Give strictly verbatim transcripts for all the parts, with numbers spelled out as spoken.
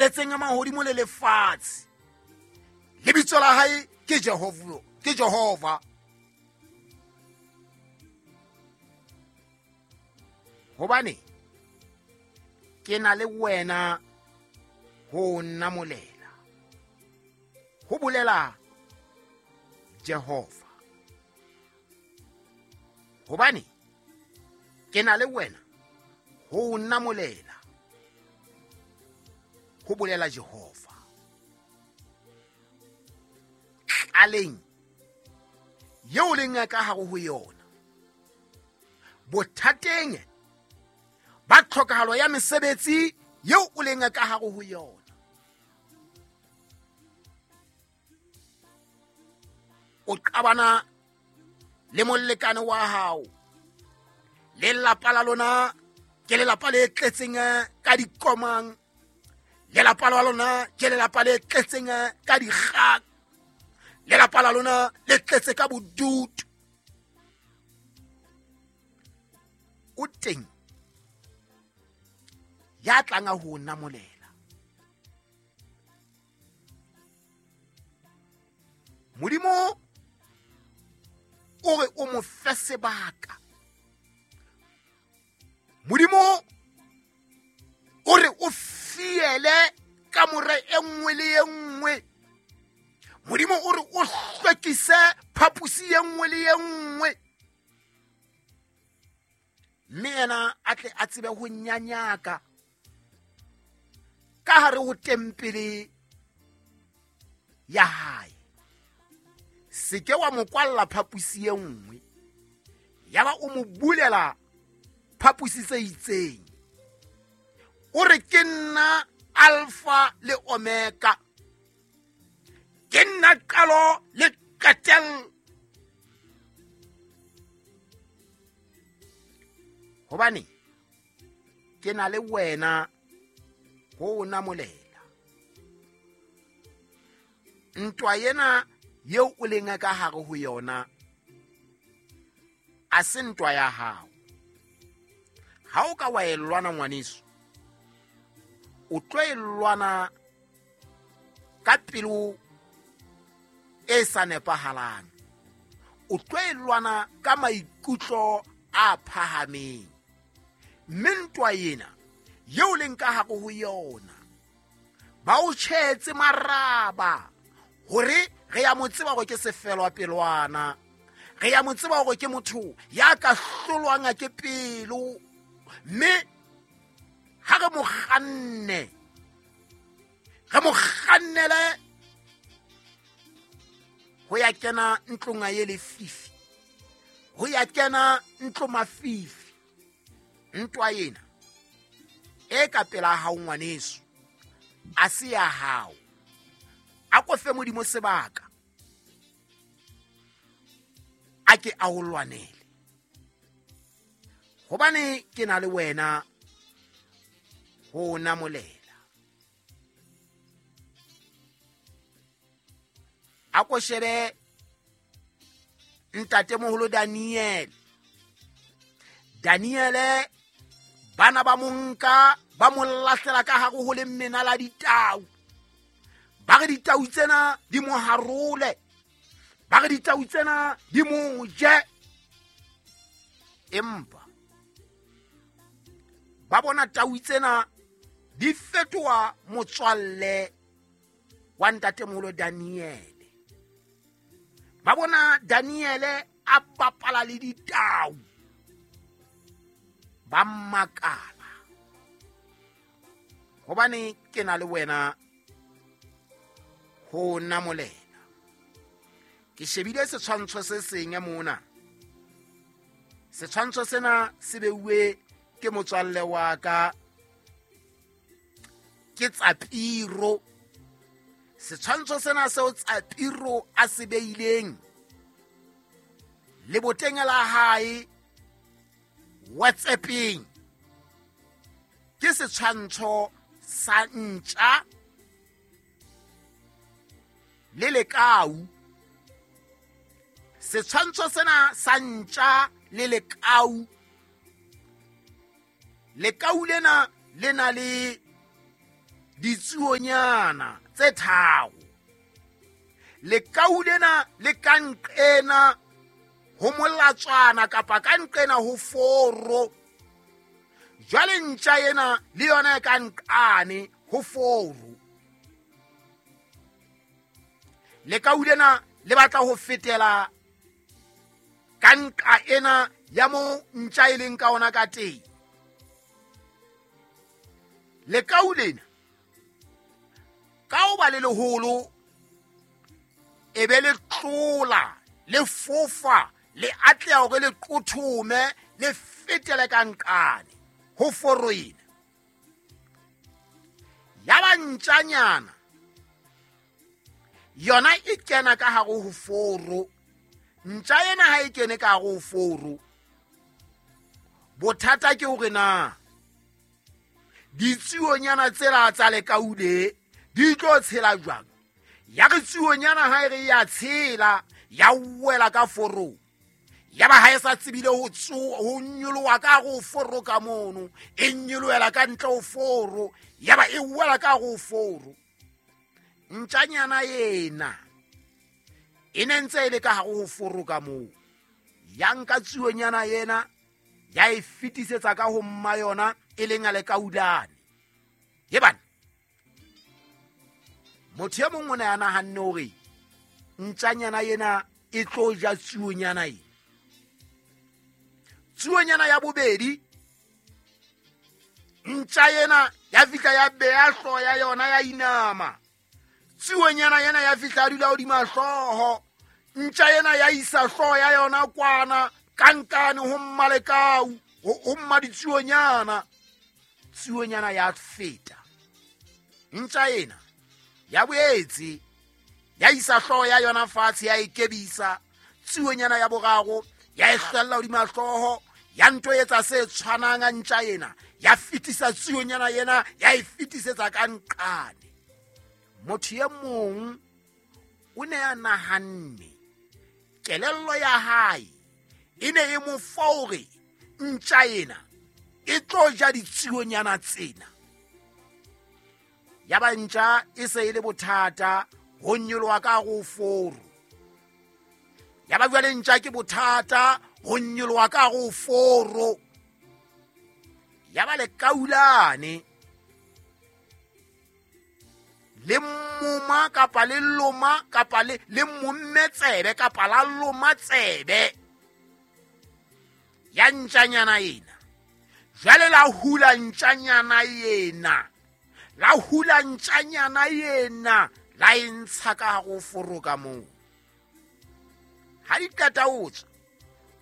tletseng mahodimo le lefatshe. Lebitso la hae ke Jehova, ke Jehova. Hobane ke na le wena ho namolela, ho bolela Jehova. Hobane ke na le wena ho namolela, ho bolela Jehova. Tlaleng yeo leng ka hare ho yona, bothateng ba tlhokahalo ya mesebetsi yeo o leng ka hare ho yona, o qabana le molekane wa hao, lelapa la lona ke lelapa le tletseng ka dikomang, lelapa la lona ke lelapa le tletseng ka dikgang, lelapa la lona le tletse ka bodutu. O teng ya tlang ho namolela. Modimo o re o mo fe sebaka. Modimo o re o fiele kamore e nngwe le e nngwe. Modimo o re o hlwekise phaposi e nngwe le e nngwe, mme yena a tle a tsebe ho nyanyaka ka hare ho tempele ya hae. Se ke wa mo kwalla phaposi e nngwe, yaba o mo bulela phaposi tse itseng. O re ke nna Alpha le Omega, ke nna qalo le qetello. Hobane ke na le wena ho namolela. Ntwa ena yeo o leng ka hare ho yona a se ntwa ya hao. Ha o ka wa e lwana ngwaneso, o tlo e lwana ka pelo e sa nepahalang, o tlo e lwana ka maikutlo a phahameng. Mme ntwa ena yeo leng ka hare ho yona, ba o tjhetse maraba hore re ya mo tseba hore ke sefelwa pelwana, re ya mo tseba hore ke motho ya ka hlolwang ke pelo, mme ha re mo kganne, re mo kgannele ho ya kena ntlong ya lefifi, ho ya kena ntlo mafifi. Ntwa ena e ka pela hao ngwaneso a se ya hao. A ko fe Modimo sebaka, a ke a o lwanele, hobane ke na le wena ho namolela. A ko shebe ntatemoholo Daniel. Daniele bana ba monka ba mo lahlela ka hare ho lemena la ditau. Ba re ditau tsena di mo harole, ba re ditau tsena di mo je. Empa ba bona tau tsena di fetoha motswalle wa ntatemoholo Daniele. Ba bona Daniele a bapala le ditau, ba makala. Hobane ke na le wena ho namolela. Ke shebile setshwantsho se seng mona. Setshwantsho sena se beuwe ke motswalle wa ka, ke Tsapiro. Setshwantsho sena seo Tsapiro a se beileng leboteng la hae WhatsAppeng ke setshwantsho sa ntja le lekau. Setshwantsho sena sa ntja le lekau, lekau lena le na le Ditsuonyana tse tharo. Lekau lena le ka nqena ho molatswana kapa ka nqena ho foro. Jwale ntja ena le yona e ka nqane ho foro. Lekau lena le batla ho fetela ka nqa ena ya mo ntja e leng ka ona ka teng. Lekau lena ka ho ba le leholo e be le tlola le fofa le atleha hore le qothome le fetele ka nqane ho foro ena. Ya ba ntjanyana yona e kena ka hare ho foro. Ntja ena ha e kene ka hare ho foro, bothata ke hore na ditsuonyana tsela tsa lekau le di tlo tshela jwang. Ya re tsuonyana ha e re ya tshela ya wela ka foro, ya ba ha e sa tsebile ho ho nyoloha ka hare ho foro ka mono, e nyolohela ka ntle ho foro, ya ba e wela ka hare ho foro. Ntjanyana ena e ne ntse e le ka hare ho foro ka moo, ya nka tsuonyana ena ya e fetisetsa ka ho mma yona e leng a lekaulane. Ye bana, motho e mong o ne a nahanne hore ntjanyana ena e tlo ja tsuonyana ena. Tsuonyana ya bobedi, ntja ena ya fihla ya beha hlooho ya yona ya inama. Tsuonyana ena ya fihla a dula hodima hlooho. Ntja ena ya isa hlooho ya yona kwana ka nkane ho mmalekau, ho mma ditsuonyana. Tsuonyana ya feta. Ntja ena ya boetse ya isa hlooho ya yona fatshe ya ikebisa. Tsuonyana ya boraro ya e hlella hodima hlooho, ya nto etsa se tshwanang a ntja ena, ya fetisa tsuonyana ena ya e fetisetsa ka nqane. Motho e mong o ne a nahanne, kelello ya hae e ne e mo fa hore ntja ena e tlo ja ditsuonyana tsena. Ya ba ntja e se e le bothata ho nyoloha ka hare ho foro. Ya ba jwale ntja ke bothata ho nyoloha ka hare ho foro. Ya ba lekaulane le moma kapa le loma kapa le le momme tsebe kapa la loma tsebe ya ntjanyana ena. Jwale la hula ntjanyana ena, la hula ntjanyana ena, la e ntsha ka hare ho foro ka moo. Ha di qeta ho tswa,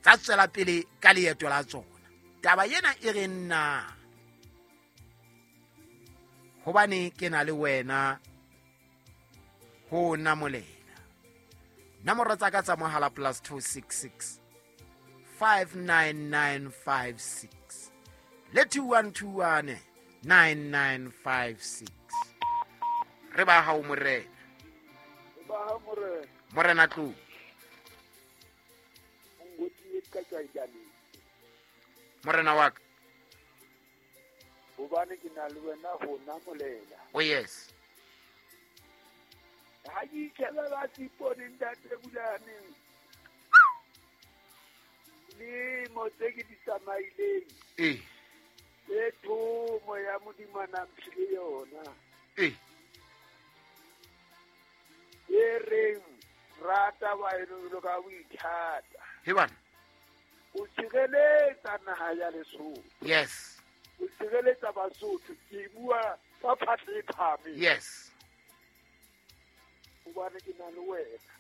tsa tswela pele ka leeto la tsona. Taba ena e re nna, hobane ke na le wena ho namolela. Nomoro tsa ka tsa mohala plus two six six five nine nine five six le two one two one nine nine five six. Re ba hao morena. Re ba hao morena. Morena tlo. Morena wa ka. Hobane ke na le wena ho namolela. Oh yes. Ha ke itjheba ba sipone ntate Bulaneng. Lemo tse ke di tsamaileng. Eh. E thomo ya Modimo a na mphile yona. Eh. E reng rata wa eno jwalo ka o ithata. He bana. O tshireletsa naha ya Lesotho. Yes. O tshireletsa Basotho, ke bua ka phatla e phahameng. Yes. Hobane ke na le wena.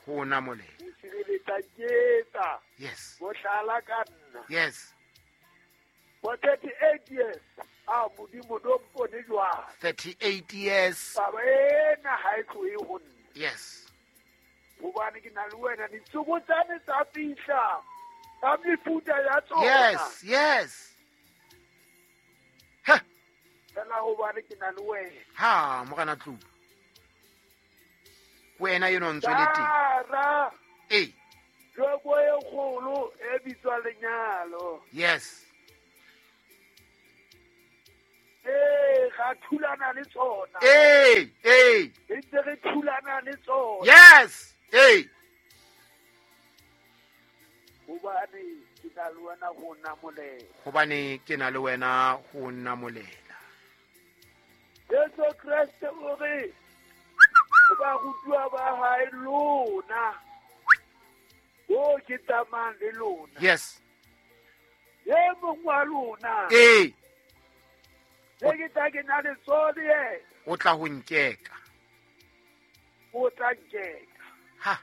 Ho namolela. O tshireletsa ketsa. Yes. Bohlala ka nna. Yes. For thirty-eight years, a Modimo do mpone jwang. thirty-eight years. Taba ena ha e tlohe ho nna. Yes. Hobane ke na le wena, ditsokotsane tsa fihla. Ka mefuta ya tsona. Yes, yes. Ha. Fela hobane ke na le wena. Ha, morena Tlou. Wena eno ntse le teng. Tara. Eh. Joko e kgolo e bitswa lenyalo. Yes. E ra thulana le tsona. Ee, ee. Re ntse re thulana le tsona. Yes. Ee. Hobane ke na le wena ho namolela. Hobane ke na le wena ho namolela. Jesu Kreste o re ho barutuwa ba hae lona, bo ke tsamayang le lona. Yes. E mong wa lona. Ee. E ke tla ke na le tsone yena. O tla ho nkeka. O tla nkeka. Ha.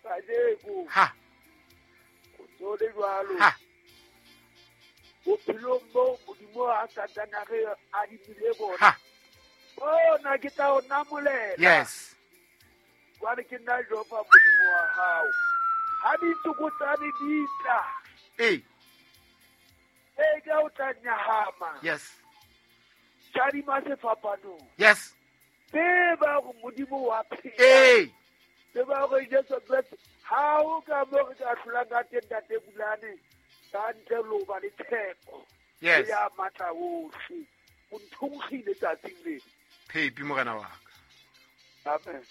Kajeko. Ha. O tsole jwalo. Ha. Bophelong bo Modimo a Satana re adimile bona. Ha. Bona ke tla o namolela. Yes. Jwale ke nna Jehova Modimo wa hao. Ha ditsokotsane di tla. Ee. E ka o tla nyahama. Yes. Tjadima sefapanong. Yes. Tseba hore Modimo wa phela. Ee. Tseba hore Jesu Kreste ha o ka mo re ka hlolang ka teng Ntate Bulane, ka ntle le ho ba le tshepo. Yes. Ya matla ohle. O nthonkgile tsatsing lena. Phepi morena wa ka. Amen.